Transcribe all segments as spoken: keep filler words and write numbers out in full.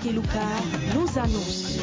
Keluka, nos annonces.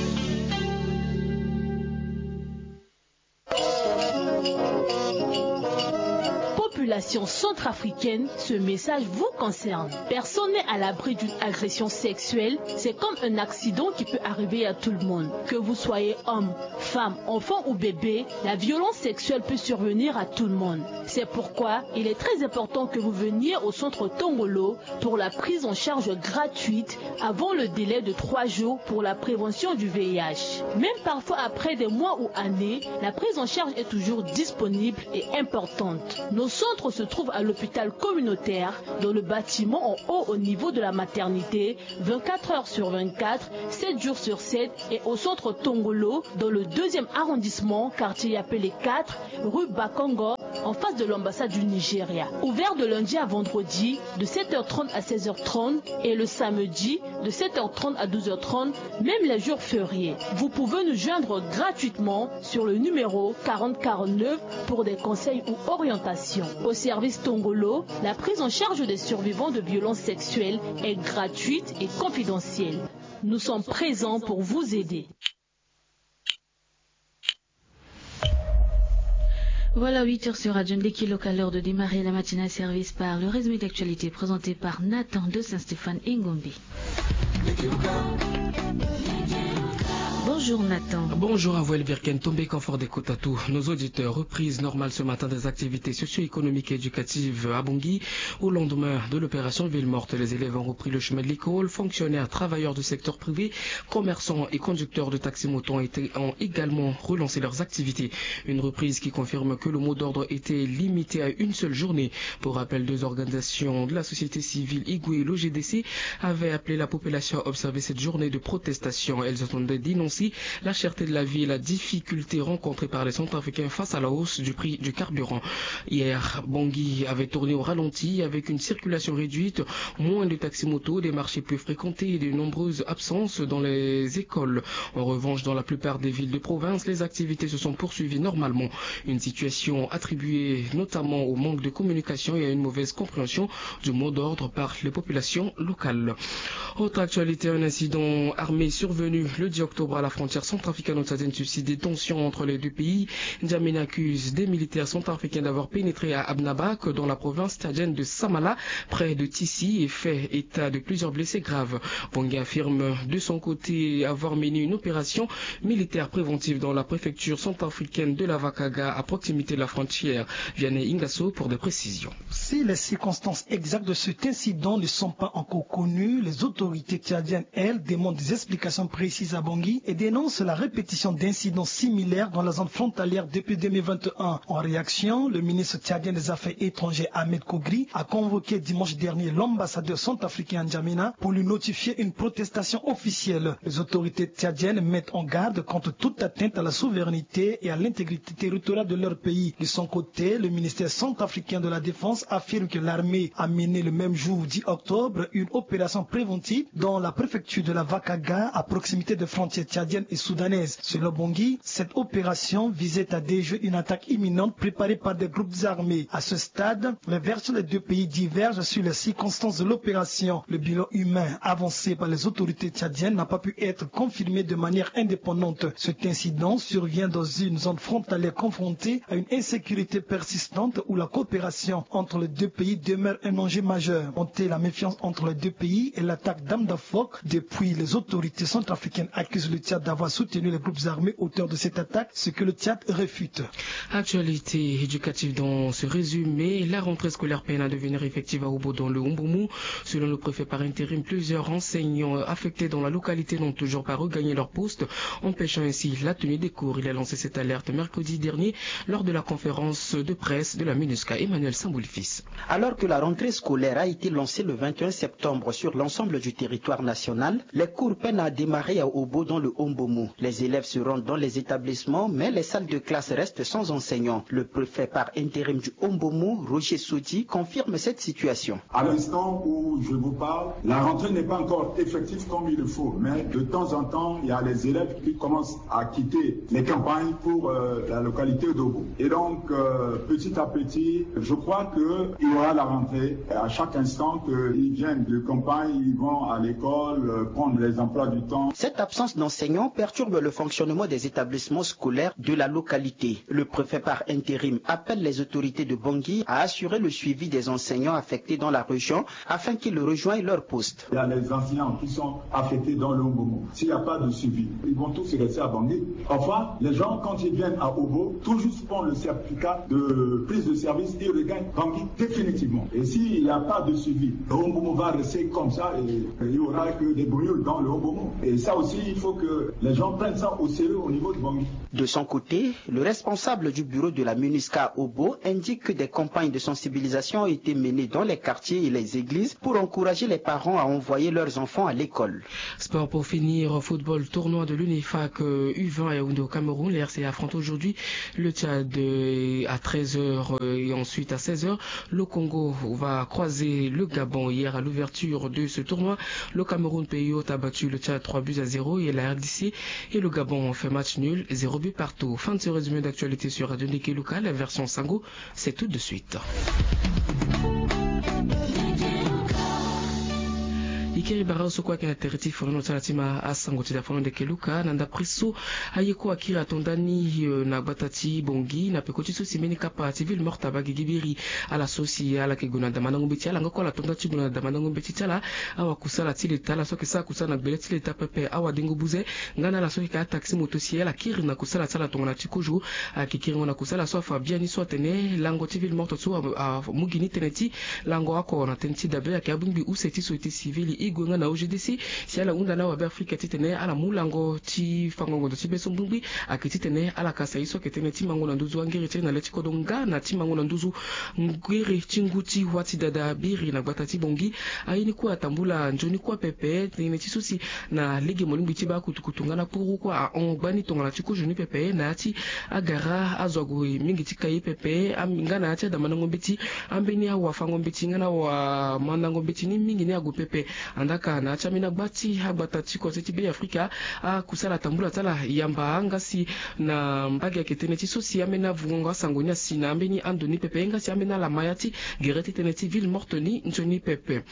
Population centrafricaine, ce message vous concerne. Personne n'est à l'abri d'une agression sexuelle. C'est comme un accident qui peut arriver à tout le monde. Que vous soyez homme, femme, enfant ou bébé, la violence sexuelle peut survenir à tout le monde. C'est pourquoi il est très important que vous veniez au centre Tongolo pour la prise en charge gratuite avant le délai de trois jours pour la prévention du V I H. Même parfois après des mois ou années, la prise en charge est toujours disponible et importante. Nos centres se trouvent à l'hôpital communautaire, dans le bâtiment en haut au niveau de la maternité, vingt-quatre heures sur vingt-quatre, sept jours sur sept, et au centre Tongolo, dans le deuxième arrondissement, quartier Yapele quatre, rue Bakongo, en face de l'ambassade du Nigeria. Ouvert de lundi à vendredi, de sept heures trente à seize heures trente, et le samedi, de sept heures trente à douze heures trente, même les jours fériés. Vous pouvez nous joindre gratuitement sur le numéro quarante quarante-neuf pour des conseils ou orientations. Au service Tongolo, la prise en charge des survivants de violences sexuelles est gratuite et confidentielle. Nous sommes présents pour vous aider. Voilà, huit heures sur Radio Ndeki Local, l'heure de démarrer la matinale service par le résumé d'actualité présenté par Nathan de Saint-Stéphane Engombe. Bonjour Nathan. Bonjour à vous Elvire Kentombe, confort d'écoute à tous nos auditeurs. Reprise normale ce matin des activités socio-économiques et éducatives à Bangui. Au lendemain de l'opération Ville Morte, les élèves ont repris le chemin de l'école. Fonctionnaires, travailleurs du secteur privé, commerçants et conducteurs de taxi-moto ont été, ont également relancé leurs activités. Une reprise qui confirme que le mot d'ordre était limité à une seule journée. Pour rappel, deux organisations de la société civile, Igwe et l'O G D C, avaient appelé la population à observer cette journée de protestation. Elles entendaient dénoncer la cherté de la vie et la difficulté rencontrée par les Centrafricains face à la hausse du prix du carburant. Hier, Bangui avait tourné au ralenti avec une circulation réduite, moins de taxi-moto, des marchés peu fréquentés et de nombreuses absences dans les écoles. En revanche, dans la plupart des villes de province, les activités se sont poursuivies normalement. Une situation attribuée notamment au manque de communication et à une mauvaise compréhension du mot d'ordre par les populations locales. Autre actualité, un incident armé survenu le dix octobre à la frontière centrafricaine tchadienne suscite des tensions entre les deux pays. N'Djamena accuse des militaires centrafricains d'avoir pénétré à Abnabak, dans la province tchadienne de Samala, près de Tissi, et fait état de plusieurs blessés graves. Bangui affirme de son côté avoir mené une opération militaire préventive dans la préfecture centrafricaine de la Vakaga, à proximité de la frontière. Vianney Ingasso pour des précisions. Si les circonstances exactes de cet incident ne sont pas encore connues, les autorités tchadiennes, elles, demandent des explications précises à Bangui et dénoncent la répétition d'incidents similaires dans la zone frontalière depuis deux mille vingt et un. En réaction, le ministre tchadien des Affaires étrangères, Ahmed Kogri, a convoqué dimanche dernier l'ambassadeur centrafricain à N'Djamena pour lui notifier une protestation officielle. Les autorités tchadiennes mettent en garde contre toute atteinte à la souveraineté et à l'intégrité territoriale de leur pays. De son côté, le ministère centrafricain de la Défense affirme que l'armée a mené le même jour dix octobre une opération préventive dans la préfecture de la Vakaga, à proximité des frontières tchadiennes et soudanaises. Selon Bangui, cette opération visait à déjouer une attaque imminente préparée par des groupes armés. À ce stade, les versions des deux pays divergent sur les circonstances de l'opération. Le bilan humain avancé par les autorités tchadiennes n'a pas pu être confirmé de manière indépendante. Cet incident survient dans une zone frontalière confrontée à une insécurité persistante où la coopération entre les deux pays demeure un enjeu majeur. Monter la méfiance entre les deux pays et l'attaque d'armes à feu depuis, les autorités centrafricaines accusent le Tchad d'avoir soutenu les groupes armés auteurs de cette attaque, ce que le Tchad réfute. Actualité éducative dans ce résumé, la rentrée scolaire peine à devenir effective à Obo dans le Umbumu. Selon le préfet par intérim, plusieurs enseignants affectés dans la localité n'ont toujours pas regagné leur poste, empêchant ainsi la tenue des cours. Il a lancé cette alerte mercredi dernier lors de la conférence de presse de la MINUSCA. Emmanuel Samboulfils. Alors que la rentrée scolaire a été lancée le vingt et un septembre sur l'ensemble du territoire national, les cours peinent à démarrer à Obo dans le Mbomo. Les élèves se rendent dans les établissements, mais les salles de classe restent sans enseignants. Le préfet par intérim du Haut-Mbomo, Roger Sodi, confirme cette situation. À l'instant où je vous parle, la rentrée n'est pas encore effective comme il le faut, mais de temps en temps, il y a les élèves qui commencent à quitter les campagnes pour euh, la localité d'Obo. Et donc, euh, petit à petit, je crois qu'il y aura la rentrée. À chaque instant qu'ils viennent de campagne, ils vont à l'école, euh, prendre les emplois du temps. Cette absence d'enseignants perturbe le fonctionnement des établissements scolaires de la localité. Le préfet par intérim appelle les autorités de Bangui à assurer le suivi des enseignants affectés dans la région afin qu'ils rejoignent leur poste. Il y a les enseignants qui sont affectés dans le Haut-Mbomo. S'il n'y a pas de suivi, ils vont tous rester à Bangui. Parfois, les gens, quand ils viennent à Obo, tout juste font le certificat de prise de service, ils regagnent Bangui définitivement. Et s'il n'y a pas de suivi, le Haut-Mbomo va rester comme ça et, et il n'y aura que des brouilles dans le Haut-Mbomo. Et ça aussi, il faut que les gens prennent ça au sérieux au niveau de Bangui. De son côté, le responsable du bureau de la MINUSCA à Obo indique que des campagnes de sensibilisation ont été menées dans les quartiers et les églises pour encourager les parents à envoyer leurs enfants à l'école. Sport pour finir, football, tournoi de l'UNIFAC, euh, U vingt à Yaoundé au Cameroun. Les R C A affrontent aujourd'hui le Tchad, euh, à treize heures, euh, et ensuite à seize heures, le Congo va croiser le Gabon. Hier, à l'ouverture de ce tournoi, le Cameroun, pays hôte, a battu le Tchad trois buts à zéro et la R D C et le Gabon ont fait match nul, zéro but partout. Fin de ce résumé d'actualité sur Radio Ndeke Luka, la version Sango, c'est tout de suite. E kiri bara so kue ayeke na tere ti fonono ti ala ti ma asango ti da fono Ndeke Luka na ndapre so aye kue akiri ato ndani, eh, na gbata ti Bongi na peko ti so si mbeni kapa ti ville morte abaa gigi biri. Ala so si ala yeke gue na damandango mbeti, ala nga kue ala to nda ti gue na damandango mbeti ti ala. Awakusala ti leta, ala so ayeke sara kusala na gbele ti leta pepe, awadengo buze nga na ala so ayeke ataxi moto si ala kiri na kusala ti ala tongana ti kozo. Ayeke kiringo na kusala so afa biani so atene lango ti ville morte so a, a, amu gi ni tënë ti lango oko na tënë ti dabe ayeke abongbi use ti société civile, Igwe nga na O G D C, si ala hunda na awabe Afrika titene ala mu lango ti fango ngonzo ti be so mbongbi. Ayeke titene ala kasa ye so ayeke tënë ti mango na nduzu angere ti e na le ti kodro nga na ti mango na nduzu ngere ti ngu ti wa ti dada biri na gbata ti Bongi. Aye ni kue atambula nzoni kue pepe tënë ti so si na lege molingbi ti baa kutukutu nga na kpuru kue ahon gbani tongana ti kozo ni pepe na ya ti agara azo ague mingi ti ka ye pepe, am-, nga na ya ti adamandango mbeti, ambeni awafango mbeti nga na awamandango mbeti ni mingi ni ague pepe. Andaa ka na ya ti ambeni agba ti agbata ti kodro ti Be Afrika, akusala tambula ti ala yamba nga si na mbage ayeke tënë ti so si ambeni avungango asango ni asi na ambeni ando ni pepe nga si ambeni ala ma ya ti gere ti tënë ti ville morte ni nzoni pepe.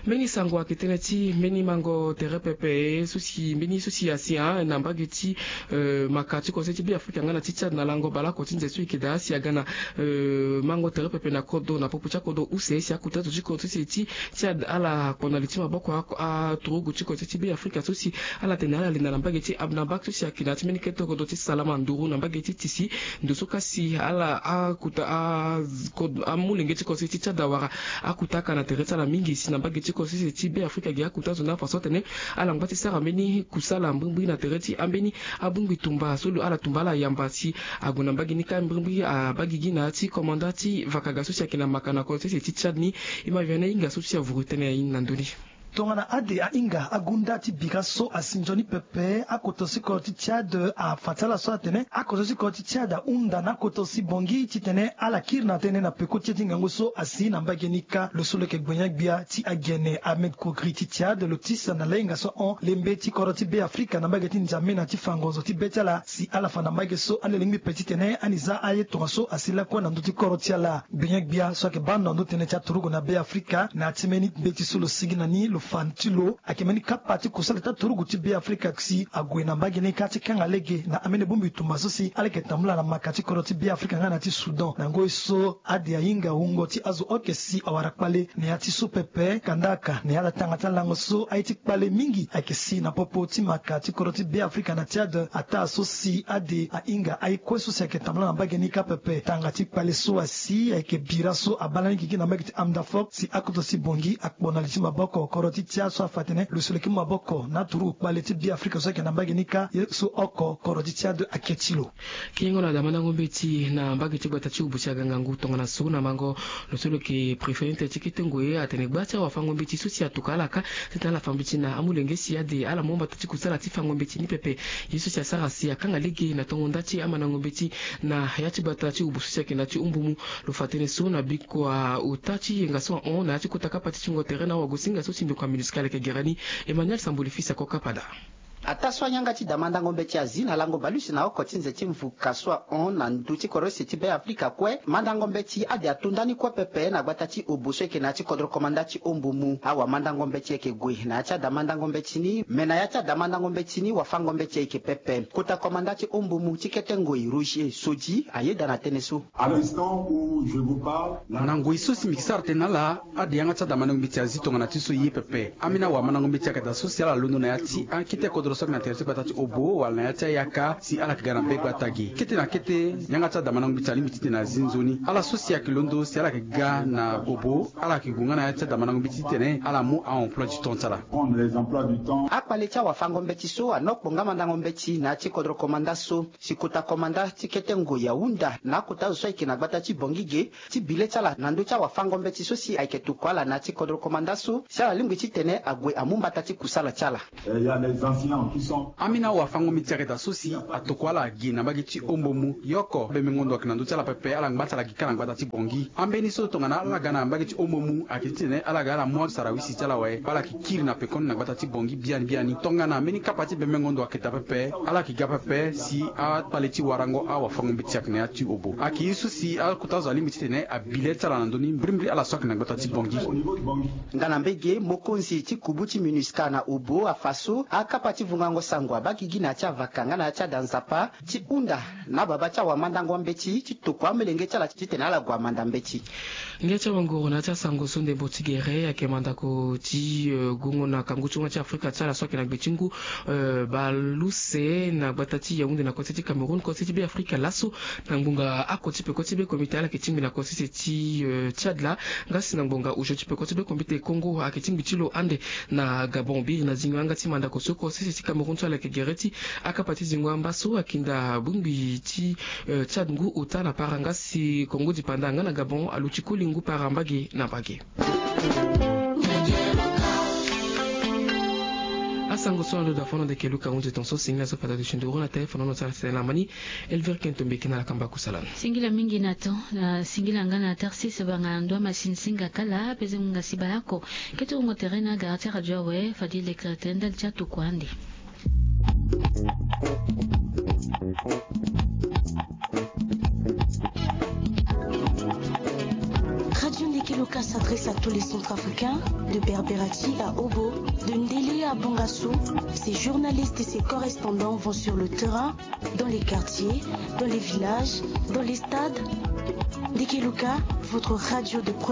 Mbeni sango ayeke tënë ti mbeni mango tere pepe so si mbeni so si asi, ah, na mbage ti, euh, maka ti kodro ti Be Afrika nga na ti Tchad na lango baleoko ti nze so e yeke daa si aga na, euh, mango tere pepe na kodro na popo ti akodro use si akuta zo ti kodro ti se ti Tchad ala kpo na li ti maboko a, aturugu ti kodro ti Be Afrika so si ala tene ala linda na mbage ti Abnabak so si ayeke na ya ti mbeni kete kodro ti Salama Nduru na mbage ti Tisi. Ndo so ka si ala akuta a, kodro, amolenge ti kodro ti se ti Tchad awara akuta aka na tere ti ala mingi si na mbage ti kodro ti se ti Be Afrika gi akuta zo ni afa so atene ala ngba ti sara mbeni kusala mbirimbiri na tere ti ambeni abongbi tumba so lo ala tumba ala yamba si ague na mbage ni ka mbirimbiri abaa gigi na ya ti komanda ti vakaga so si ayeke na maka na kodro ti se ti Tchad ni. E ma via na hinga so si avuru tënë aye ni na ndö ni. Tongana ade ahinga agunda ti bira so asi nzoni pepe, akoto ti kodro ti Tchad afa ti ala so atene akoto ti kodro ti Tchad ahunda na akoto ti Bongi titene ala kiri na tënë na peko ti ye ti ngangu so asi na mbage ni kâ. Lo so lo yeke gbenyo-gbia ti agene Ahmed Kogri ti Tchad lo tisa na lahinga so ahon lembe ti kodro ti Be Afrika na mbage ti Nzamena ti fa ngonzo ti be ti ala si ala fa na mbage so ande lingbi pe titene ani za aye tongaso asi lakue na ndö ti kodro ti ala. Gbenyo-gbia so ayeke baa ndo na ndö tënë ti aturugu na Be Afrika na ya ti mbeni mbeti so lo sigi na ni lo fa ti lo ayeke mbeni kapa ti kusala ti aturugu ti Be Afrika si ague na mbage ni kâ ti kanga lege na ambeni bongbi tumba so si ala yeke tambula na maka ti kodro ti Be Afrika nga na ti Soudan. Na ngoi so ade ahinga wungo ti azo oke si awara kpale na ya ti so pepe, kanda aka na ya ti atanga ti alango so aye ti kpale mingi ayeke si na popo ti maka ti kodro ti Be Afrika na Tchad. Ataa so si ade ahinga aye kue so si ayeke tambula na mbage ni kâ pepe, tanga ti kpale so asi ayeke bira so abaa lani gigi na mbage ti Amdafok si akoto ti Bongi akpo na li ti maboko kodro ti tia so afa atene lo soloki maboko na turu kpale ti Beafrika so ayeke na mbage ni kâ ye so oko kodro ti tia ade ake ti lo. Kiringo na damandango mbeti na mbage ti gbata ti Obo si aga ngangu tongana so na mango lo so lo yeke préfet ti kete ngoi atene gba ti awafango mbeti so si atokua ala kâ titene ala fa mbeti na amolenge si ade ala mu mbata ti kusala ti fango mbeti ni pepe. Ye so si asara si akanga lege na tongo nda ti amandango mbeti na ya ti gbata ti Obo so si ayeke na ya ti Ombumu. Lo fa tënë so na bikua ota ti yenga so ahon na ya ti kota kapa ti tingo tere na wagosinga so si mbi kua MINUSCA ayeke gere ni. Emmanuel Samboli fils ako kapa daa. Ataa so ayanga ti damandango mbeti azi na lango baleuse na oko ti nze ti mvuka so ahon na ndö ti kodro use ti Beafrika kue, mandango mbeti ade ato ndani kue pepe na gbata ti Obo so ayeke na ya ti kodro komanda ti Ombumu. Awamandango mbeti ayeke gue na ya ti adamandango mbeti ni, me na ya ti adamandango mbeti ni wafango mbeti ayeke pepe. Kota komanda ti Ombumu ti kete ngoi Roger Sodi ayeda na tënë so. Na ngoi so si mbi ke sara tënë na ala, ade yanga ti adamandango mbeti azi tongana ti so ye pepe. Ambeni awamandango mbeti ayeke daa so si ala londo na ya ti akete kodro so ayeke na tere ti gbata ti Obo wala na ya ti ayaka si ala yeke ga na be gbata ge. Kete na kete, yanga ti adamandango mbeti alingbi titene azi nzoni. Ala so si ayeke londo si ala yeke ga na Obo, ala yeke gue nga na ya ti adamandango mbeti titene ala mu a-emploi du temps ti ala. Akpale ti awafango mbeti so anokpo nga mandango mbeti na ya ti kodro komanda so. Si kota komanda ti kete ngoi ahunda na akota zo so ayeke na gbata ti Bangui ge ti bi le ti ala na ndö ti awafango mbeti so si ayeke tokua ala na ya ti kodro komanda so si ala lingbi titene ague amu mbata ti kusala ti ala. Ambeni awafango mbeti ayeke daa so si atokua ala ge na mbage ti Ombumu. Ye oko bembengo ndo ayeke na ndö ti ala pepe, ala ngba ti ala ge kâ na gbata ti Bangui. Ambeni so tongana ala ga na mbage ti Ombumu ayeke titene ala ga ala mu asarawisi ti ala awe, ala yeke kiri na pekoni na gbata ti Bangui biani biani. Tongana mbeni kapa ti bembengo ndo ayeke daa pepe, ala yeke ga pepe si akpale ti warango awafango mbeti ayeke na ya ti Obo. Ayeke ye so si akota zo alingbi titene abi le ti ala na ndö ni mbirimbiri ala so ayeke na gbata ti Bangui. Nga na mbege mokonzi ti kubu ti MINUSCA na Obo afa so akapa ti vungango sango abaa gigi na ya ti avaka nga na ya ti ada nzapa ti hunda na babâ ti awamandango ambeti ti tokua amelenge ti ala titene ala gue amanda mbeti. Ngia ti awanguru na ya ti asango so ndembo ti gere ayeke mandako ti, eh, gongo na kangu ti huma ti Afrika ti ala so ayeke na gbe ti ngu, eh, baleuse na gbata ti Yaoundé na kose ti Cameroun, kose ti Beafrika laso na ngbonga ako ti peko ti be komite ala yeke tingbi na kose ti, eh, Tchad laa. Nga si na ngbonga osio ti peko ti be komite Congo ayeke tingbi ti lo ande na Gabon. Biri na zingo yanga ti mandako so kose ti Cameroun so ala yeke gere ti akapa ti zingo amba so akinda bongbi ti, eh, Tchad ngu ota na para nga si Congo dipanda nga na Gabon aluti koli ngu para mbage na mbage. Asango so ando da fono de keluka hunzi ton so singila so fata de shinduru na téléphone no sala sela mani. Elvire Kento mbeki na la kamba kusala. Singila mingi na ton, na singila nga na Tarsis banga na ndwa masini singa kala peze munga si balako. Kete wongo tere na gara ti radio awe fadi lekere tere ndali ti atuku ande. Radio Ndeke Luka s'adresse à tous les Centrafricains, de Berberati à Obo, de Ndélé à Bongassou. Ses journalistes et ses correspondants vont sur le terrain, dans les quartiers, dans les villages, dans les stades. Ndeke Luka, votre radio de proximité.